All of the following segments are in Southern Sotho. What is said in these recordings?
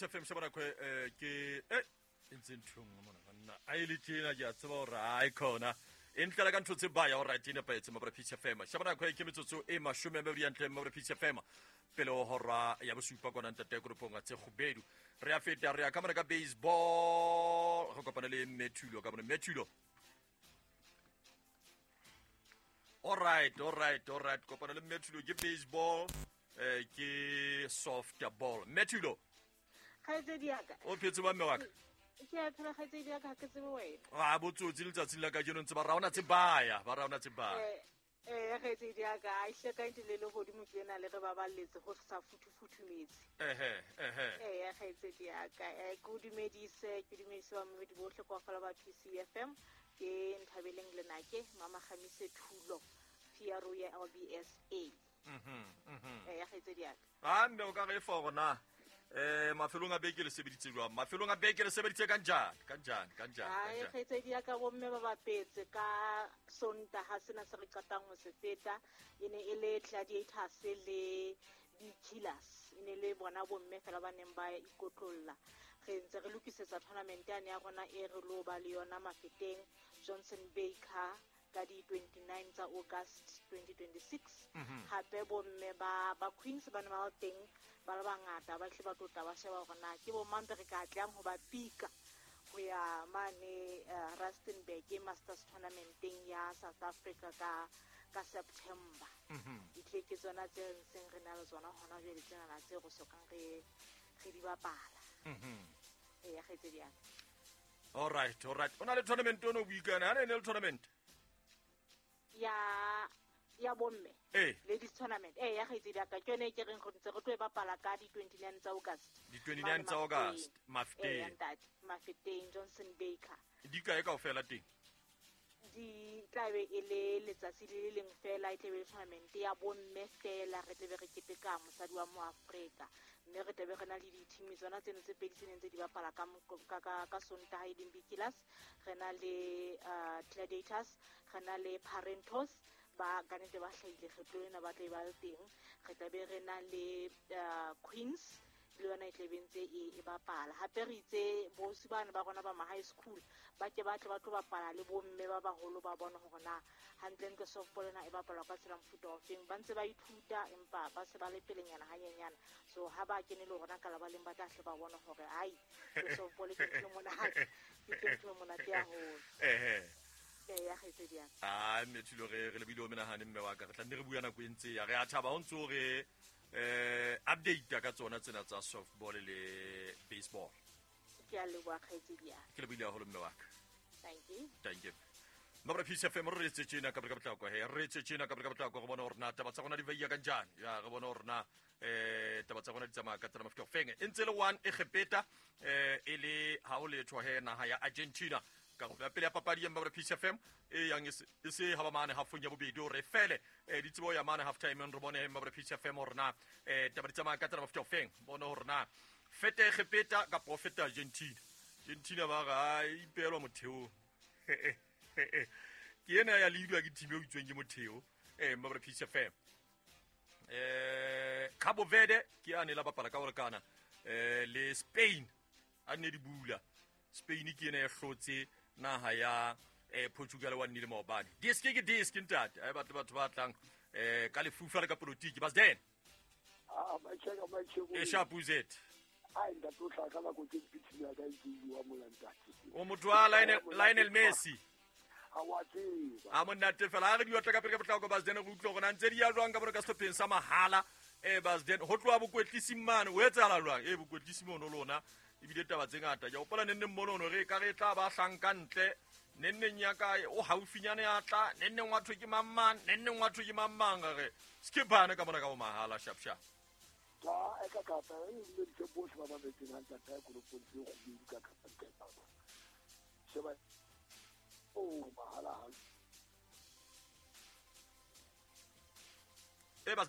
Peace FM sheba nako ke e ntse ntho nngwe mona banna a e le tjena ke a tseba hore a e khona e ntlela ka ntho tse baya o right e nepahetse mabra Peace FM sheba nako e ke metsotso e 20 ya ntle mabra Peace FM pele ho hora ya bosupa kona ntate koropong tse kgubedu re a feta re ya ka mona ka baseball re kopana le Methulo ka mona Methulo. All right, all right, all right. Kopana le Methulo ke baseball, ke softball. Methulo. Kgaitsedi ya ka. O phetse ba mme wa ka? Ke a phela kgaitsedi ya ka, ha ke tsebe wena. A botsotsi letsatsing la kajeno ntse ba raona tse baya, ba raona tse baya. Kgaitsedi ya ka, a ihle ka ntse le le godimo ke ena le re baballetse go sa futhufuthumetse. Ehe, ehe. Kgaitsedi ya ka, ke o dumedise, ke dumedise ba mamedi bohle kwa fela ba PCFM. Ke Nthabeleng Lenake, Mama Kgamise Thulo, PRO ya LBSA. Kgaitsedi ya ka. A mme o ka re fa hore na mafelong a beke le sebeditse jwang? Mafelong a beke le sebeditse ka njani? Ka njani? Ka njani? Ka njani? Kgaitsedi ya ka, bomme ba bapetse ka Sontaha sena se re qetang ho se feta. E ne e le Gladiators le Bee Killers. E ne le bona bomme fela ba neng ba ikotlolla. Re ntse re lokisetsa tournament yane ya rona e re lo ba le yona Mafeteng, Johnson Baker ka di 29 tsa August 2026. Hape bomme ba Queens ba ne ba le teng ba le bangata, ba tle ba tlotla ba sheba hore na ke bo mang re ka tlang ho ba pika ho ya mane Rustenburg Masters Tournamenteng ya South Africa ka September. Ditle ke tsona tse ntseng re na le tsona hona jwale tsena tse re sokang re di bapala. Ya kgaitsedi ya ka. All right, all right. O na le tournament ono buikana, ha ne le tournament? Ya bomme. Ladies tournament. Ya kgaitsedi ya ka. Ke yone e ke reng re ntse re tlo e bapala ka di 29 tsa August. Di 29 tsa August, Mafeteng. Ya ntate, Mafeteng, Johnson Baker. Di kae kaofela teng? Di tla be e le letsatsi le le leng fela, e tla be le tournament ya bomme fela, re tla be re keteka mosadi wa mo Afrika. Mme re tla be re na le di-team tsona tseno tse pedi tse neng tse di bapala ka Sontaha e leng Bee Killers, re na le Gladiators, re na le Parentos, ba ka nnete ba hlahile kgetlo lena ba tla ba le teng. Re tla be re na le Queens, le yona e tla be ntse e bapala. Hape re itse bosi bana ba rona ba ma high school ba ke ba tle ba tlo bapala le bomme ba baholo ba bone hore na hantlentle softball ena e bapalwa ka tsela mofuta o feng. Ba ntse ba ithuta empa ba se ba le pelenyana hanyenyana. So ha ba kene le rona ka labaleng ba tla hle ba bone hore ai softball ke ntho e monate, ke ntho e monate haholo. Ya kgaitsedi ya ka. A mme Thulo re lebile o menahane mme wa ka, re tla nne re bua nako e ntse ya re a thaba ho ntso re update ka tsona tsena tsa softball le baseball. Ke a leboha kgaitsedi ya. Ke lebohile haholo mme wa ka. Thank you. Thank you. Mabra Peace FM re etse tjena ka potlako he, re etse tjena ka potlako re bona hore na taba tsa rona di veia ka njani. Ya re bona hore na taba tsa rona di tsamaya ka tsela mofuta ofeng. E ntse le one e Egepeta e le ha o letho he naha ya Argentina. Karolo ya pele ya papadi ya Mabra Peace FM e yang e se ha ba mane halfong ya bobedi hore fele di tsebo ya mane half time re bone Mabra Peace FM hore na taba di tsamaya ka tsela mofuta ofeng. Bona hore na fete Egepeta kapa fete Argentina. Argentina ba ga ipeelwa motheo. Ke ena ya leadwa ke team e utsweng ke motheo Mabra Peace FM. Cabo Verde ke ane la bapala ka hore kana le Spain a nne di bula. Spain ke ena ya hlotse naha ya Portugal wa nnile maobane. Disk ke disk ntate, ai batle batho ba tlang ka lefufa le ka politiki ba den. Ah, ma cheka. E sharp uzet. Ai ntate o tla ka nako tse mpitsi ya ka itse wa mola ntate. O motho wa Lionel Messi. Ha wa tseba. A monate fela ha re di otla ka pele ka potlako ba den re utlwe hore na ntse di ya jwang ka bone ka sehlopheng sa mahala. Ba den ho tloha bokwetlisi mane o etsahala jwang? Bokwetlisi mono lona ebile taba tse ngata. Ke hopola nenneng mono no re ka re tla ba hlanka ntle. Nenneng ya ka o haufinyane ya tla, nenneng wa thwe ke mang mang, nenneng wa thwe ke mang mang re skipane ka mona ka bo mahala sharp sharp. Ka e ka kapa e le ditse bohle ba mametseng hantle ka koropong tse kgubedu ka kapa. Sheba o mahala ha. Ba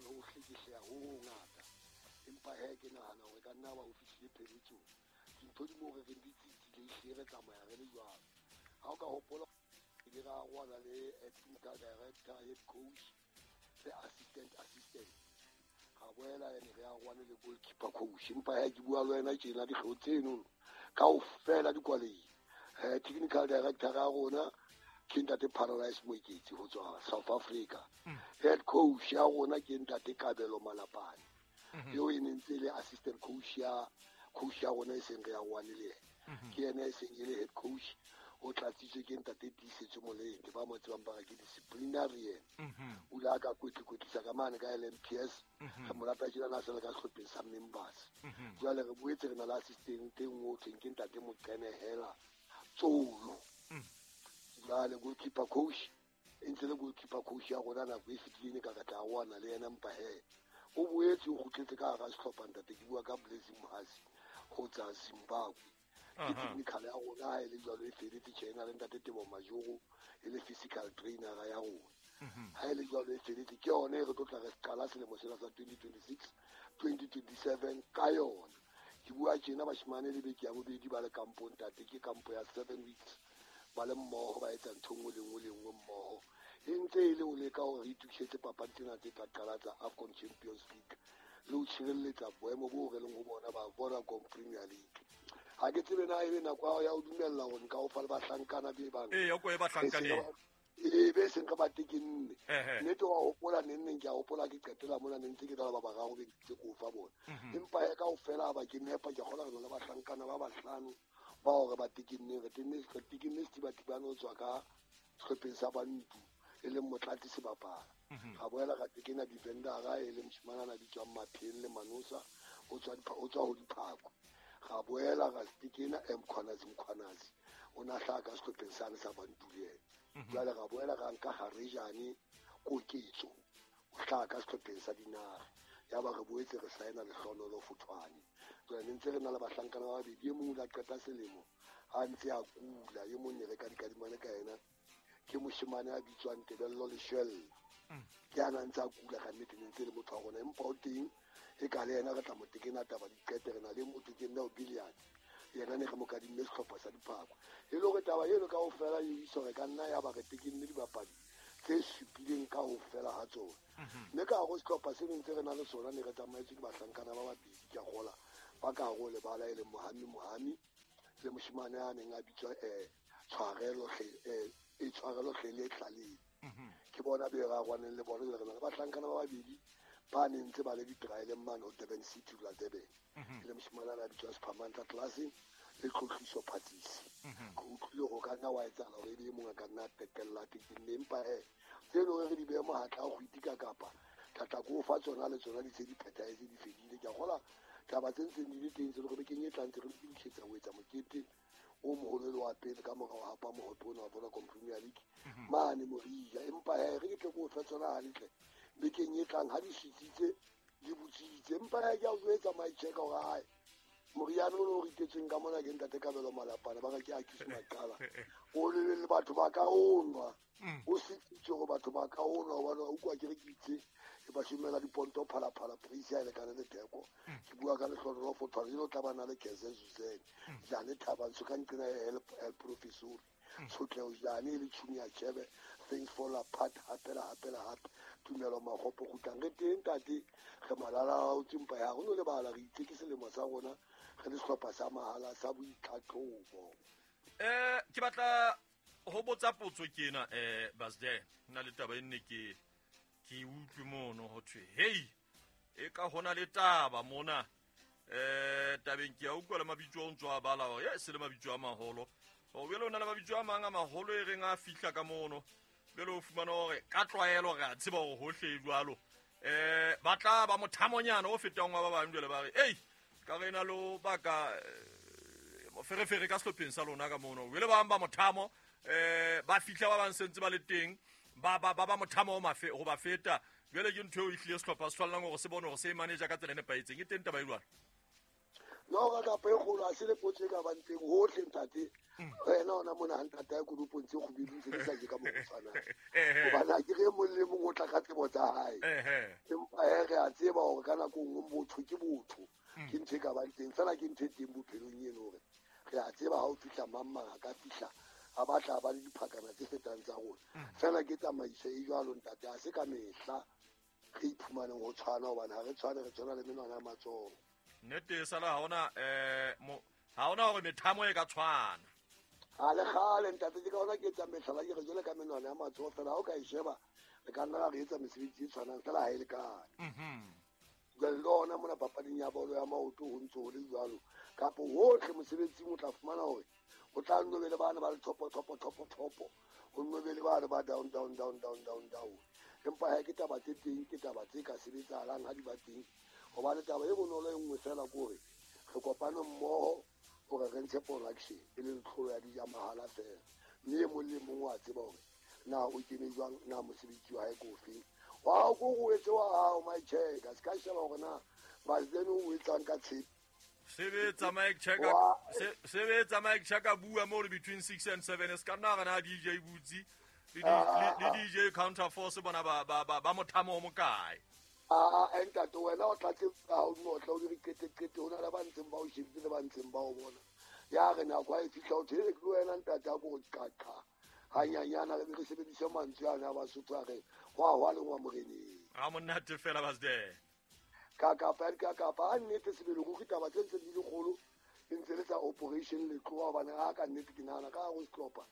ho hlekehleha ho ngata. Empa he ke nahana hore ka nna ba o fihlile pheletsong. Dintho di mo re re di tsitsile ehlile re tsamaya re le jwalo. Ha o ka hopola ile ra rwala le acting director, head coach le assistant. Ra boela ene re arohane le goalkeeper coach. Empa ha ke bua le wena tjena dikgeo tseno kaofela di kwalehile. Technical director ya rona ke ntate Paradise Moeketsi ho tswa South Africa. Head coach ya rona ke ntate Kabelo Malapane. Eo e ne ntse le assistant coach ya coach ya rona e seng re arohane le yena. Ke yena e seng e le head coach, o tlatsitswe ke ntate Tiisetso Molete, ba mo tsebang ba re ke disciplinarian. O ile a ka kwetlikwetsisa ka mane ka LMPS. Re mo rata tjena na se le ka sehlopheng sa members. Jwale re boetse re na le assistant e nngwe ho thweng ke ntate Moqenehela Tsolo. Jwale goalkeeper coach e ntse le goalkeeper coach ya rona nako e fetileng e ka re tla arohana le yena, empa he o boetse o kgutletse ka hara sehlopha ntate. Ke bua ka Blessing Mohasi ho tswa Zimbabwe. Ke technical ya rona ha e le jwalo e feletse tjena le ntate Tebo Majoro e le physical trainer ya rona. Ha e le jwalo e feletse, ke yona e re tlo tla re qala selemo sena sa 2026 2027 ka yona. Ke bua tjena bashemane le beke ya bobedi ba le kampong ntate, ke kampo ya 7 weeks ba le mmoho, ba etsa ntho e nngwe le nngwe le nngwe mmoho. E ntse e le ho leka hore re itokisetse papadi tsena tse tla qala tsa AFCON Champions League le ho tshireletsa boemo boo re leng ho bona ba Vodacom Premier League. Ha ke tsebe na ebe nako ya ho dumella hore nka o fa le bahlankana be bang. Ee, o ko e bahlankaneng. Ee, be seng ka ba tekenne. Nnete wa hopola neng neng ke a hopola ke qetela mona ne ntse ke tla ba bararo be ntse ke o fa bona. Empa he kaofela ha ba ke nepa, ke kgona re na le bahlankana ba bahlano ba hore ba tekenneng. Re tekenne Setibatibane ho tswa ka sehlopheng sa Bantu e leng Motlatsi Sebapala. Ra boela ra tekena defendera e leng moshemane a bitswang Mapheng le Manosa, o tswa ho Diphako. Ra boela ra tekena Mkhwanazi Mkhwanazi, o na hlaha ka sehlopheng sane sa Bantu le yena. Jwale ra boela ra nka Garejane Koketso, o hlaha ka sehlopheng sa Dinare. Ya ba re boetse re saena Lehlohonolo Fothwane. Jwale ne ntse re na le bahlankana ba babedi, e mong o ile a qeta selemo ha ntse a kula, e mong ne re ka dikadimane ka yena ke moshemane a bitswang Tebello Leshwella. Ke a na ntse a kula ka nnete, ne ntse le motho wa rona, empa o teng e ka le yena re tla mo tekena taba di qete. Re na le motho ke nna o Billiard, yena ne re mo kadimme sehlopha sa Diphako. E le hore taba eno kaofela e isa hore ka nna ya ba re tekenne dibapadi tse supileng kaofela ha tsona. Mme ka hare ho sehlopha se ntse re na le sona ne re tsamaetse ke bahlankana ba babedi, ke a kgola ba ka hare ho lebala e leng Mohami Mohami le moshemane a neng a bitswa Tshwarelo Tshwarelo Hlele Tlaleng. Ke bona be re arohaneng le bona. Jwale re na le bahlankana ba babedi ba neng ntse ba le di-trialeng mane ho Durban City la Durban. E le moshemane a bitswa Sphamantla Classeng le Tlotliso Phatsisi. Ke utlwile hore o ka nna wa etsahala hore ebe e mong a ka nna a qetella tekenne, empa he tse leng hore re di behe mohatla a kgwiti ka kapa tla ko fa tsona le tsona di se di phethahetse di fedile. Ke a kgola taba tse ntseng di le teng tse le hore bekeng e tlang tse re lokisetsa ho etsa mokete o moholo le wa pele ka morao hapa mohope ona wa Vodacom Premier League mane Moria. Empa he re ke tle ko fa tsona hantle bekeng e tlang ha di sitsitse di botsitse. Empa he ke a o jwetsa my check hore hae moriana o no ritetsweng ka mona ke ntate Kabelo Malapane, ba re ke a kise maqala o le batho ba ka o nwa o sitsitse hore batho ba ka o nwa, hobane wa utlwa ke re ke itse ke ba šomela diponto phalaphala price ya e lekane le theko. Ke bua ka Lehlohonolo Fothwane, jeno tla ba na le Keze Zuzene Jane Thabantsho ka nqena ya professor Tshotleho Jane e le Junior Chebe, Things Fall Apart hape le hape le hape, Tumelo Makgopo kgutlang. Re teng ntate, re malala a otse, mpa ya rona lebala re itse ke selemo sa rona re le sehlopha sa mahala sa boitlhatlhobo. Ke batla ho botsa potso ke ena, Basde, nna le taba e nne ke utlwe mono ho thwe hei e ka hona le taba mona tabeng ke a utlwa le mabitso a ntso a bala hore se le mabitso a maholo. O bjale o na le mabitso a mang a maholo e reng a fihla ka mono, bjale o fumana hore ka tlwaelo re a tseba hore hohle e jwalo. Ba tla ba mothamonyana o fetang wa ba bang, jwale ba re ei ka re na lo baka moferefere ka sehlopheng sa lona ka mono. Jwale ba bang ba mothamo ba fihla ba bang sentse ba le teng ba ba ba mothamo ho ba feta. Jwale ke ntho eo e hlile sehlopha se tshwanelang hore se bone hore se e manager ka tsela e nepahetseng. E teng taba e jwalo? No, ka kapa e kgolo ha se le potso e ka bang teng hohle ntate. Wena ona mona ha ntate a kodupong tse kgubedu tse di sa je ka mo tshwanang. Hobane ha ke re mong le mong o tla ka tsebo tsa hae. Empa he re a tseba hore ka nako nngwe motho ke botho. Ke ntho e ka bang teng, fela ke ntho e teng bophelong eno hore re a tseba ha o fihla mang mang a ka fihla a batla ba le diphakana tse fetang tsa rona. Fela ke tsamaiso e jwalo ntate, ha se ka mehla re iphumaneng ho tshwana, hobane ha re tshwane, re tshwana le menwana ya matsoho. Nnete sala ha ona ha ona hore methamo e ka tshwana. Ha le kgale ntate, ke ka hona ke etsa mehlala, ke re jwale ka menwana ya matsoho fela, ha o ka e sheba re ka nna ra re etsa mesebetsi e tshwanang fela ha e lekane. Jwale le hona mona papading ya bolo ya maoto ho ntso ho le jwalo, kapo hohle mosebetsing o tla fumana hore o tla nno be le bana ba le thopo thopo thopo thopo, ho nno be le bana ba down down down down down down. Empa ha ke taba tse teng, ke taba tse ka sebetsahalang ha di ba teng, hobane taba e bonolo e nngwe fela ke hore re kopane mmoho hore re ntshe production e leng tlholo ya dijo mahala fela, mme e mong le mong wa tseba hore na o kene jwang, na mosebetsi wa hae ke ofeng. Wa ko o etse wa hao my check, a se ka sheba hore na Basden o etsang ka tshepe. Sebetsa Mike Checker, sebetsa Mike Checker, bua mo between 6 and 7 se ka nna gana DJ Butsi le DJ Counter Force bona ba mothamo o mokae. A ntate wena o tlatse ha o notla o dire qete qete, ho na le ba ntseng ba o shebile le ba ntseng ba o bona. Ya re nako ha e fihla o thele ke wena ntate a go qaqa hanyanyana, re re sebedise mantswe ana a Basotho a re hwa hwa le ngwa moreneng. A monate fela Basden. Ka kapa ka kapa a nnete sebele go kitaba tse ntse di le kgolo e ntse le tsa operation Letloa, hobane ha ka nnete ke nahana ka go sehlopha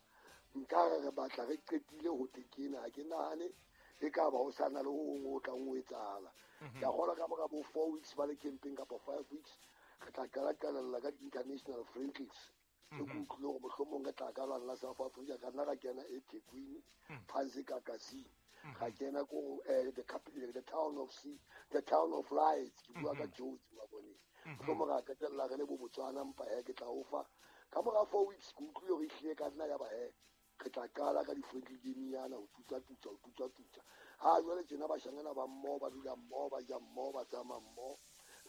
nka re re batla re qetile ho tekena, ha ke nahane e ka ba ho sana le ho hong ho tlang ho etsahala. Ke a kgolwa ka mora bo 4 weeks ba le camping kapa 5 weeks re tla qala qalella ka di-international friendlies. Ke utlwile hore mohlomong re tla ka lwana la South Africa, ka nna ra kena eThekwini phansi ka Kasini, ga kena ko the capital, the town of sea, the town of lights, ke bua ka Jozi wa bone. Mohlomong ra qetella re le bo Botswana, mpa he ke tla o fa ka mora 4 weeks. Ke utlwile hore ehlile ka nna ya ba he re tla qala ka di-friendly game nyana ho tutsa tutsa ho tutsa tutsa. Ha jwale tjena bashanyana ba mmoho, ba dula mmoho, ba ja mmoho, ba tsamaya mmoho,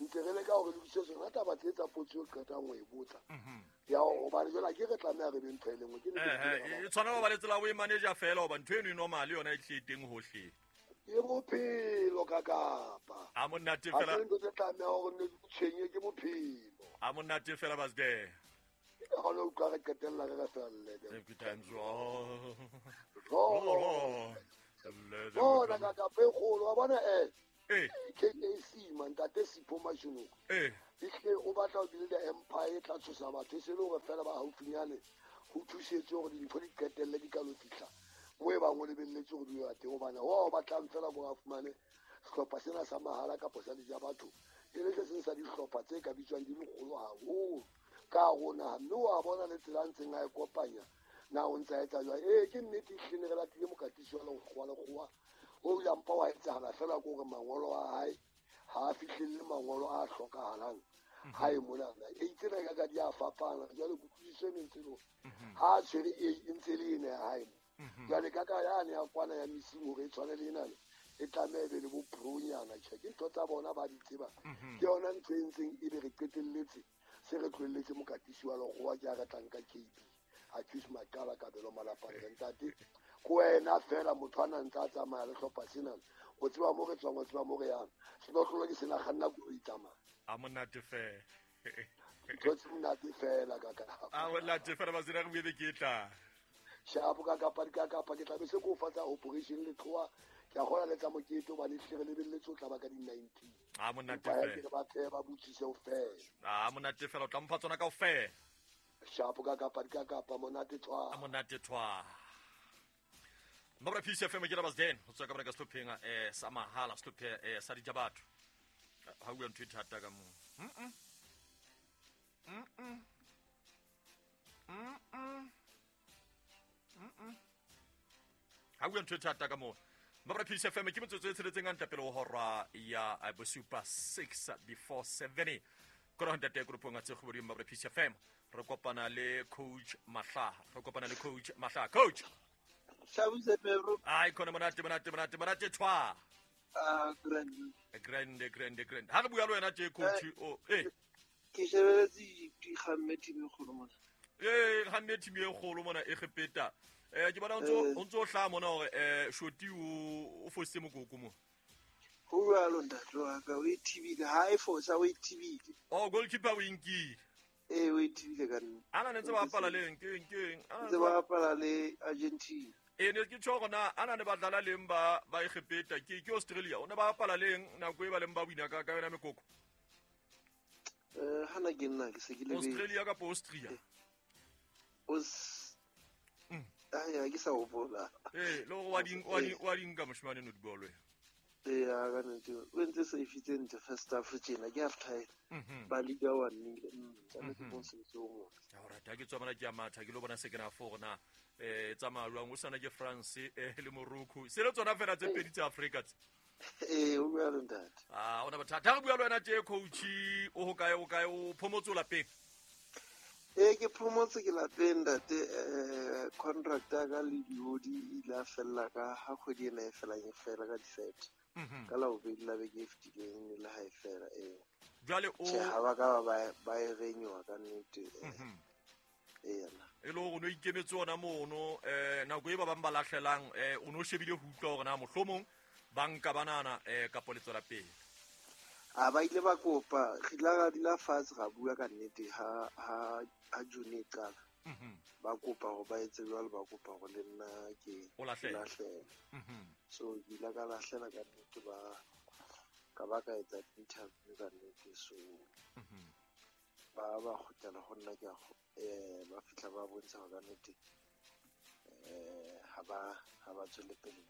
ntse re leka hore lokise tsona taba tse tsa potso eo qetang ho e botsa. Ya hobane jwale ke re tlameha re be ntho e le nngwe. Ke e tshwana ho ba le tsela o e manager fela, hoba ntho eno e normal yona e tlile teng hohle. Ke bophelo ka kapa. A monate fela. Ha se ntho tse tlameha hore nne di tshwenye, ke bophelo. A monate fela Basden. Ke kgone ho utlwa re qetella re re felle. Every time's wrong. Bona ka kapa e kgolo, wa bona KAC man, ntate Sipho Mashunoko. Ehlile o batla ho build empire e tla tshosa batho, e se le hore fela ba haufinyane ho thusetse hore dintho di qetelle di ka lo fihla moo e bang o lebelletse hore di ya teng, hobane wa o batlang fela hore a fumane sehlopha sena sa mahala kapa sa dijo batho, e le se seng sa dihlopha tse ka bitswang di le kgolo haholo ka hare naha, mme wa bona le tsela a ntseng a e kopanya na o ntse a etsa jwang. Ke nnete ehlile re latile mokatisi wa lekgowa lekgowa o ile a mpa wa etsahala fela ke hore mangolo a hae ha a fihlelle mangolo a hlokahalang ha e monana. E itse re ka di a fapana jwale kutlwisiso e mentse le hore ha a tshwere e ntse le ena ya hae. Jwale ka ka yane ya kwana ya missing hore e tshwane le enana, e tlameha e be le bo pro-nyana. Tjhe, ke ntho tsa bona ba di tseba. Ke yona ntho e ntseng e be re qetelletse se re tlohelletse mokatisi wa lekgowa ke a re tlang ka KB. Accuse Makala Kabelo Malapane ntate ko wena fela motho a nang tsa tsamaya le hlopha sena, o tseba mo re tswang, o tseba mo re yang, senotlolo ke sena kganna koloi tsamaya. A monate fela. Ntho tse monate fela ka kapa. A monate fela Basden, re bue beke e tlang. Shapo ka kapa ka kapa ke tla be se ko fa tsa operation Letloa, ke a kgona le tsa mokete hobane ehlile re lebelletse ho tla ba ka di-19. A monate Empa fela. ke re ba phehe, ba botsise ho fela. A monate fela, o tla mpha tsona kaofela. Shapo ka kapa ka kapa monate tshwa. A monate tshwa. Mabra Peace FM ke la Basden, ho tswa ka bona ka sehlopheng sa mahala, sehlophe sa dijabatho. Ha bua ntho e thata ka moo. Ha bua ntho e thata ka moo. Mabra Peace FM ke metsotso e tsheletseng hantle pele ho hora ya bosupa 6 before 7. Kora ho ntate koropong a tse kgoboding Mabra Peace FM. Re kopana le Coach Mahlaha. Re kopana le Coach Mahlaha. Coach. Shabuse Pedro. Ai khona monate monate monate monate tshwa. Ah, grand. Grande grande grande. Ha re bua le wena tje coach o Ke shebeletse di kgamme team e kgolo mona. Kgamme team e kgolo mona e Egepeta. Ke bona o ntso hlaha mona hore Shoti o fositse mokoko mo. Ho jwalo ntate wa ka, o e thibile, ha e fosa o e thibile. Oh, goalkeeper o e nkile. O e thibile ka nnete. Ana ne ntse ba bapala le eng, ke eng, ke eng? Ntse ba bapala le Argentina. E ne ke tjho gona ana ne ba dlala leng ba ba Egepeta ke Australia o ne ba bapala leng nako e ba leng ba wina ka yona mekoko. Hana ke nna ke se ke le Australia kapa Austria. Ya ke sa hopola. Le gore wa di nka moshimane no dibolo. Ya ka nnete o entse safe tse ntle first half tjena ke half time. Ba liga 1-0. Ka nnete ke mosebetsi o motle. Alright, ha ke tswa mona ke a matha ke lo bona second half gore na tsamaya jwang o sana ke France le Morocco. Se le tsona fela tse pedi tsa Africa tse. O bua le ntate. Ona bothata. Ha re bua le wena tje coach o ho kae o phomotse o lapeng? Ke phomotse ke lapeng ntate. Contract ya ka le diodi e ile a fella ka ha kgwedi ena e felang e fela ka di-30. Ka la bobedi la beke e fetileng le ha e fela. Jwale o tjhe ha ba ka ba e renewa ka nnete. E le hore o no ikemetse ona mono nako e ba bang ba lahlelang o no shebile ho utlwa hore na mohlomong banka banana kapo le tswela pele. A ba ile ba kopa re ile ra dula fatshe ra bua ka nnete ha June e qala. Ba kopa hore ba etse jwalo, ba kopa hore le nna ke lahlele. So ke ile ka lahlela ka nnete ba ka ba ka etsa interview ka nnete. So ba ba kgutlela ho nna ke ba fihla ba bontsha hore ka nnete ha ba tswele pele.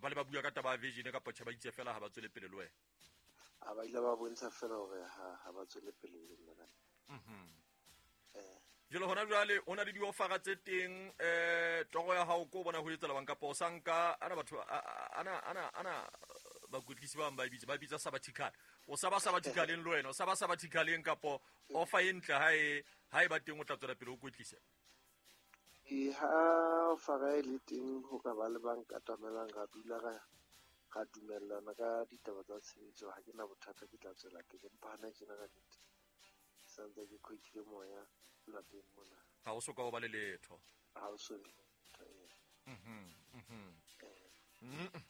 Ba le ba bua ka taba ya vision kapa tjhe ba itse fela ha ba tswele pele le wena? A ba ile ba bontsha fela hore ha ba tswele pele le nna. Jwale hona jwale ho na le diofara tse teng toro ya hao ko bona ho etsa bang kapa o sa nka ana batho ana bakwetlisi ba bang ba bitsa sabbatical. O sa ba sabbaticaleng le wena, o sa ba sabbaticaleng kapo offer e ntle ha e ba teng o tla tswela pele o kwetlise? Ha offer e le teng ho ka ba le bang katamelang ra dula ra dumellana ka ditaba tsa tshebetso, ha ke na bothata ke tla tswela pele. Empa hana tjena ka nnete santse ke khwekile moya lapeng mona. Ha o soka o ba le letho? Ha o so le letho.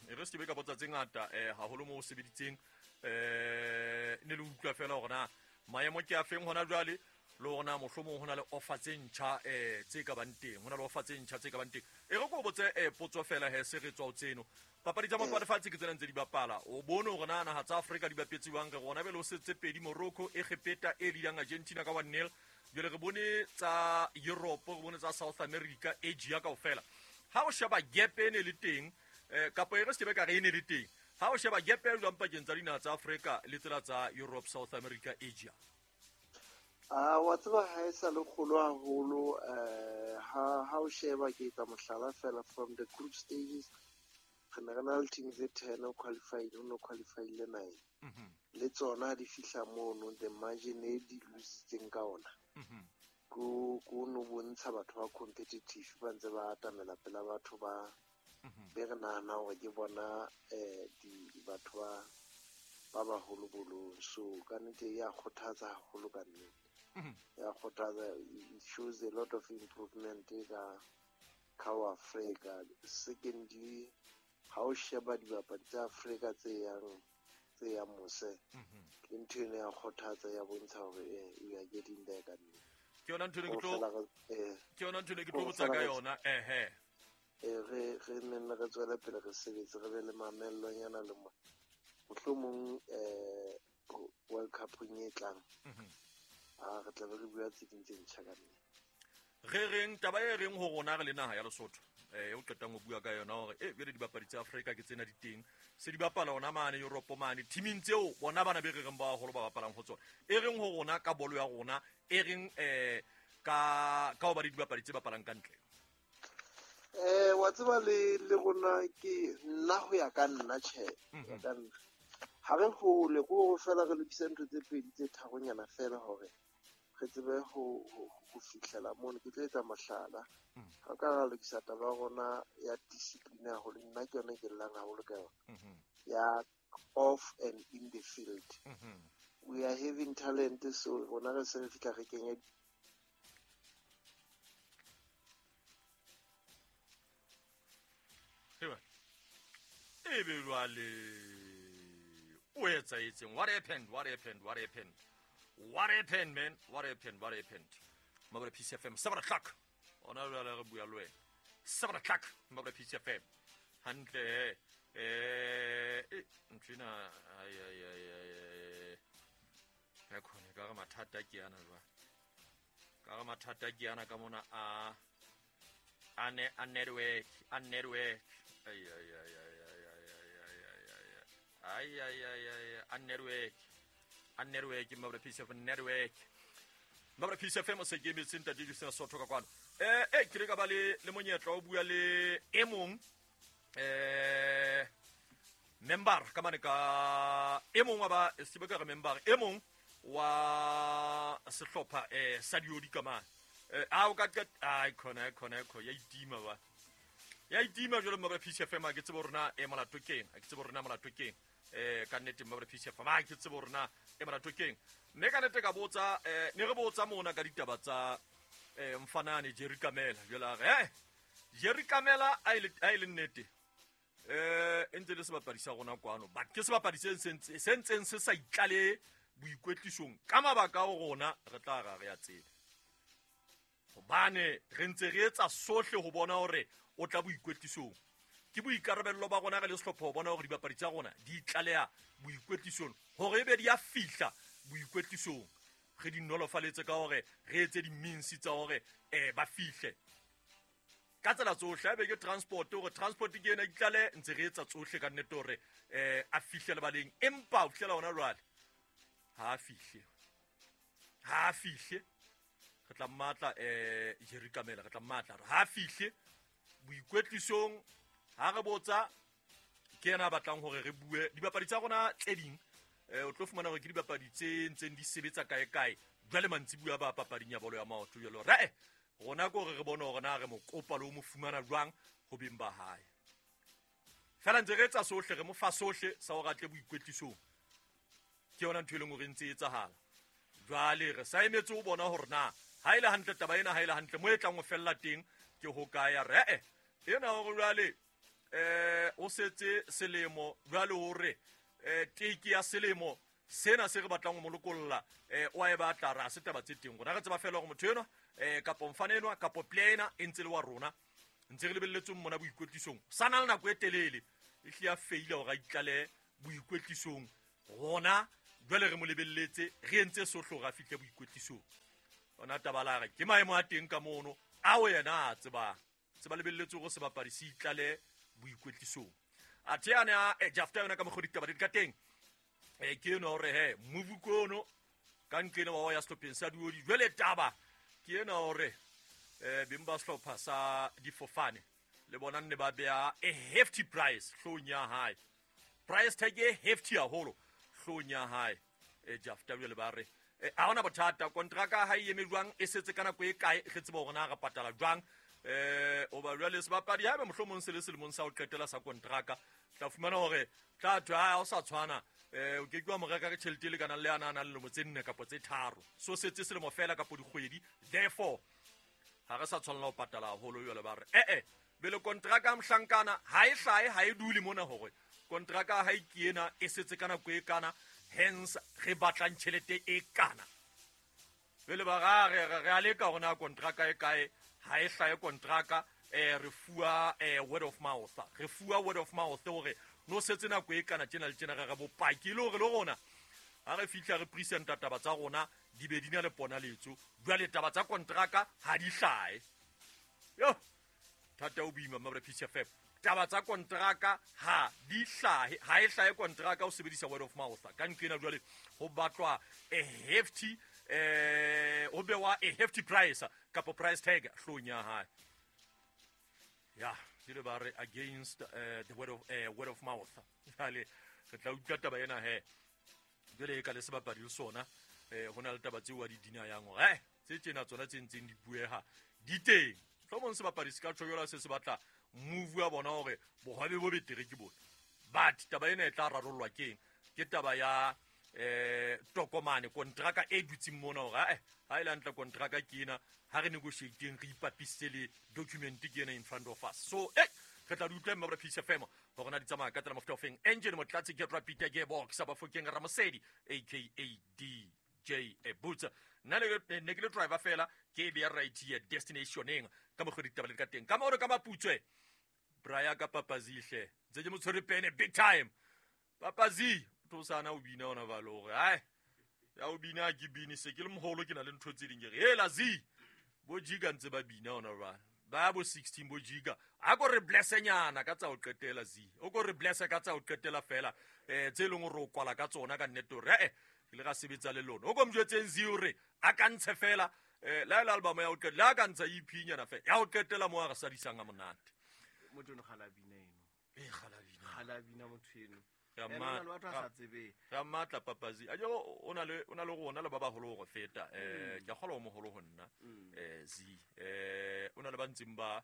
E re se be ka botsa tse ngata haholo mo o sebeditseng ne le utlwa fela hore na maemo ke a feng hona jwale le hore na mohlomong ho na le offer tse ntjha tse ka bang teng, ho na le offer tse ntjha tse ka bang teng. E re ko botse potso fela he se re tswa ho tseno. Papadi tsa maoto a lefatshe ke tsena ntse di bapala. O bone hore na naha tsa Afrika di bapetse jwang. Re rona bele ho setse pedi Morocco, Egepeta e leadang Argentina ka 1-0. Jwale re bone tsa Europe, re bone tsa South America, Asia kaofela. Ha o sheba gap e ne le teng kapo e re se be ka re e ne le teng. Ha o sheba gap e jwang pakeng tsa dinaha tsa Afrika le tsela tsa Europe, South America, Asia? Wa tseba ha e sa le kgolo haholo ha o sheba ke etsa mohlala fela from the group stages re ne re na le team tse 10 o qualified, o no qualified le 9. Le tsona di fihla mono the margin e di lositseng ka ona. Ko no bontsha batho ba competitive ba ntse ba atamela pela batho ba be re nahana hore ke bona di batho ba baholo bolong. So ka nnete ya kgothatsa haholo ka nnete. Ya kgothatsa, it shows a lot of improvement ka Africa. Secondly, ha o sheba dibapadi tsa Afrika tse yang mose, ke ntho eno ya kgothatsa ya bontsha hore we are getting there ka nnete. Ke yona ntho ne ke tlo botsa ka yona. Re nne re tswele pele re sebetse, re be le mamellonyana le mohlomong World Cup e tlang. Re tla be re bua tse ding tse ntjha ka nnete. Re reng taba e reng ho rona re le naha ya Lesotho o qetang ho bua ka yona hore bjale dibapadi tsa Afrika ke tsena di teng se di bapala ona mane Europe mane teaming tseo bona bana be re reng ba haholo ba bapalang ho tsona. E reng ho rona ka bolo ya rona, e reng ka ho ba le dibapadi tse bapalang ka ntle? Wa tseba le rona ke nna ho ya ka nna tjhe ka nna ha re hole ko fela re lokisa ntho tse pedi tse tharonyana fela hore re tsebe ho fihlela mono. Ke tlo etsa mohlala ha ka ra lokisa taba ya rona ya discipline haholo, nna ke yona ke llang haholo ka yona ya off and in the field. We are having talent, so rona re se re fihla re kenya ebe jwale o etsaetseng. What happened? What happened, man? What happened? Mabole Peace FM, 7 o'clock. Ona jwale re bua le wena 7 o'clock mabra PCFM hantle ntlina ai ai ai ai ya khone ka re mathata ke ana jwa ka re mathata ke ana ka mona a a network ai ai ai ai ai ai ai ai ai a network mabra PCFM network mabra PCFM se ke metse ntate Justin Sotho ka kwano ke re ka ba le monyetla o bua le e mong member ka mane ka e mong wa ba se ka re member e mong wa sehlopha sa diodi ka mane a o ka ai khona ya itima ba ya itima jalo mabra PCFM a ke tsebo rona e molato keng a ke tsebo rona molato keng ka nnete mabra PCFM a ke tsebo rona e molato keng mme ka nnete ka botsa ne re botsa mona ka ditaba tsa mfanane Jerry Kamela jela re Jerry Kamela a ile nnete ntse le sebapadi sa rona kwano but ke sebapadi se ntseng se sa itlale boikwetlisong ka mabaka a rona re tla ra re ya tsebe hobane re ntse re etsa sohle ho bona hore o tla boikwetlisong ke boikarabello ba rona re le sehlopha ho bona hore dibapadi tsa rona di itlaleha boikwetlisong hore ebe di a fihla boikwetlisong re di nolofaletse ka hore re etse di-means tsa hore ba fihle ka tsela tsohle a be ke transport hore transport ke ena itlale ntse re etsa tsohle ka nnete hore a fihle lebaleng empa ho fihlela hona jwale ha a fihle re tla mmatla Jerry Kamela re tla mmatla re ha a fihle boikwetlisong ha re botsa ke yena a batlang hore re bue dibapadi tsa rona tse ding o tlo fumana hore ke dibapadi tse ntseng di sebetsa kae kae jwale mantsibuya ba papading ya bolo ya maoto jwalo re rona ko re bone hore na re mo kopa le ho mo fumana jwang ho beng ba hae fela ntse re etsa sohle re mo fa sohle sa hore a tle boikwetlisong ke yona ntho e leng hore ntse e etsahala jwale re sa emetse ho bona hore na ha ile hantle taba ena ha ile hantle mo e tlang ho fella teng ke ho kae ya re ena hore jwale o setse selemo jwale hore teke ya selemo sena se re batlang ho molokolla o a e batla ra se taba tse teng rona re tseba fela hore motho enwa kapo mfana enwa kapo player ena e ntse le wa rona ntse re lebelletseng mona boikwetlisong sa na le nako e telele e hle ya feila hore a itlale boikwetlisong rona jwale re mo lebelletse re entse sohle hore a fihle boikwetlisong ona taba la re ke maemo a teng ka mono ao yena a tsebang se ba lebelletse hore sebapadi se itlale boikwetlisong athe ane a jafta yona ka mokgwa ditaba di ka teng ke eno hore he movukono ka nqene wa ya sehlopheng sa diodi jwale taba ke ena hore beng ba sehlopha sa difofane le bona nne ba beha a hefty price hloohong ya hae price tag e hefty haholo hloohong ya hae jafta jwale ba re ha hona bothata kontraka ha e eme jwang e setse ka nako e kae re tseba hore na re patala jwang oba jwale sebapadi haebe mohlomong se le selemong sa ho qetela sa kontraka tla fumana hore tla thwe ha o sa tshwana o ke ke wa mo reka ka tjhelete e lekanang le ana a nang le lemo tse 4 kapa tse 3 so setse selemo fela kapo dikgwedi therefore ha re sa tshwanela ho patala haholo jwale ba re bele kontraka mohlankana ha e hlahe ha e dule mona hore kontraka ha e ke ena e setse ka nako e kana hence re batlang tjhelete e kana bele ba re a leka hore na kontraka e kae ha e hlahe kontraka re fuwa word of mouth re fuwa word of mouth hore no setse nako e kana tjena le tjena re bopaki le hore le rona ha re fihla re presenta taba tsa rona di be di na le ponaletso jwale taba tsa kontraka ha di hlahe yo thata o boima mabra PCFM taba tsa kontraka ha di hlahe ha e hlahe kontraka o sebedisa word of mouth ka nqena jwale ho batlwa a hefty ho bewa a hefty price kapo price tag hloohong ya hae ya jele ba re against the word of mouth jwale re tla utlwa taba ena he jwale e ka le sebapadi le sona ho na le taba tseo wa di dina yang hore tse tjena tsona tse ntseng di bueha di teng hlomong sebapadi se ka tjho se se batla move ya bona hore bohwabe bo betere ke bone but taba ena e tla rarollwa keng ke taba ya tokomane kontraka e dutseng mona hore ha ile hantle kontraka ke ena ha re negotiateng re ipapisitse le document ke ena in front of us so re tla di utlwa mma PCFM hore na di tsamaya ka tsela mofuta ofeng engine motlatsi ke rapita gearbox Bafokeng Ramosedi aka D. DJ Boots. Nna ne ke le driver fela ke be ya right here destinationeng ka mokgwa ditaba le ka teng. Ka mo re ka maputswe. Braya ka papazihle. Ntse ke mo tshwere pene big time. Papazi to sana o bina ona ba le hore ai ya o bina ke bini se ke le moholo ke na le ntho tse ding ke re hela zi bo jiga ntse ba bina ona ba ba bo 16 bo jiga a ko re blessenyana ka tsa o qetela zi o ko re blesse ka tsa o qetela fela tse leng hore o kwala ka tsona ka nnete hore ke le ga sebetsa le lona o ko mjwetseng zi hore a ka ntshe fela la la album ya o qetela ka ntsha EP nyana fela ya o qetela mo a re sadisang a monate motho no gala bina eno e gala bina motho eno ya matla papazi a jo o na le rona le ba baholo go feta ke kgola o moholo ho nna zi o na le ba ntseng ba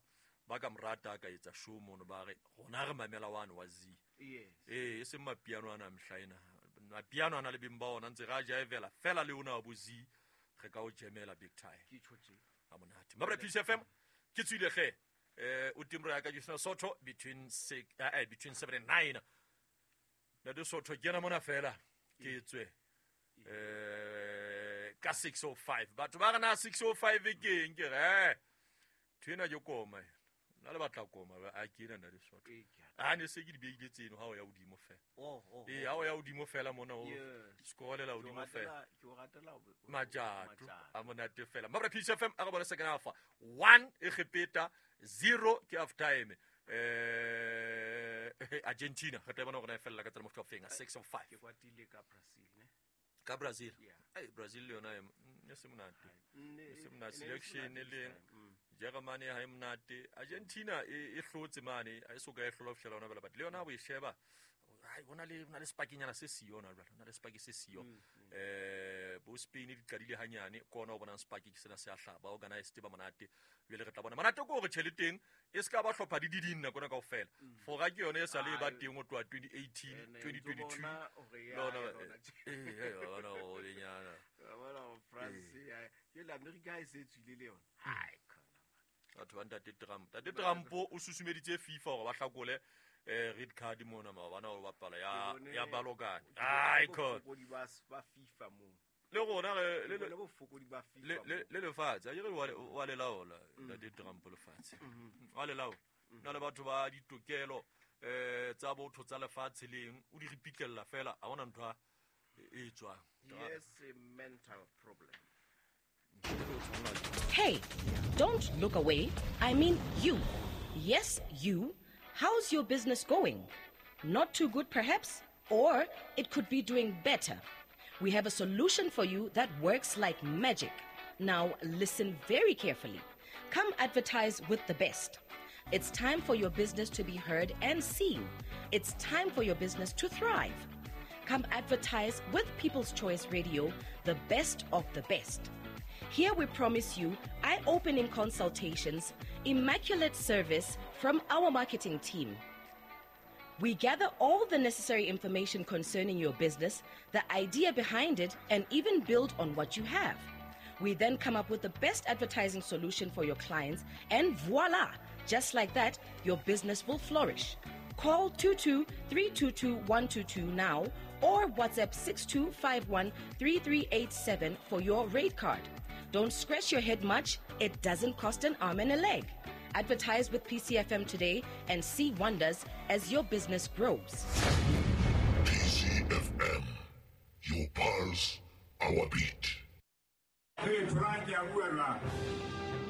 ka morata ka etsa show mono ba re rona re mamela one wa zi yes e seng mapiano ana mhlaena mapiano ana le beng ba ona ntse ra jaivela fela le ona bo zi re ka o jemela big time ke tshotse a monate mabra Peace FM ke tswile ge o timro ya ka Justina Soto between 6 between 7 and 9 na de Soto ke na mona fela ke tswe ka 6:05 batho ba rena 6:05 ke eng ke re thena ke koma nna le batla koma a ke ena na de Soto a ne se ke di beile tseno ha o ya hodimo fela e ha o ya hodimo fela mona o scorelela hodimo fela ke o ratela majato a monate fela mabra Peace FM a re bona second half 1 Egepeta 0 ke half time Argentina re tla bona gore e fella ka tsela motho wa fenga 6:05 ke kwatile ka Brazil ne ka Brazil ai Brazil le yona e se monate e se monate selection le Germany ha e monate Argentina e hlotse mane a e soka e hlola fihlela ona bela but le yona bo e sheba ai bona le spakinyana se siyo ona jwale ona le spaki se siyo bo Spain di qadile hanyane kona o bona spaki ke sena se a hlaba organized ba monate jwale re tla bona monate ko re tjheleteng e ska ba hlopha di diding nako na kaofela fora ke yona e sa le ba teng o tloha 2018 2022 lona ona o lenyana bona France ya ke la America e se tswile le yona hai batho ba ntate Trump tate Trump o susumeditse FIFA hore ba hlakole red card mona maobane o bapala ya Balokane ai god ba FIFA mo le rona le bofokodi ba FIFA le lefatshe a ke re wa le laola ntate Trump lefatshe wa le laola na le batho ba ditokelo tsa botho tsa lefatshe leng o di ripitlela fela a bona ntho e tswang yes a mental problem. Hey, don't look away. I mean you. Yes, you. How's your business going? Not too good, perhaps? Or it could be doing better. We have a solution for you that works like magic. Now, listen very carefully. Come advertise with the best. It's time for your business to be heard and seen. It's time for your business to thrive. Come advertise with People's Choice Radio, the best of the best. Here we promise you eye-opening consultations, immaculate service from our marketing team. We gather all the necessary information concerning your business, the idea behind it, and even build on what you have. We then come up with the best advertising solution for your clients, and voila! Just like that, your business will flourish. Call 22-322-122 now or WhatsApp 6251-3387 for your rate card. Don't scratch your head much. It doesn't cost an arm and a leg. Advertise with PCFM today and see wonders as your business grows. PCFM, your pulse, our beat. Hey, Frank,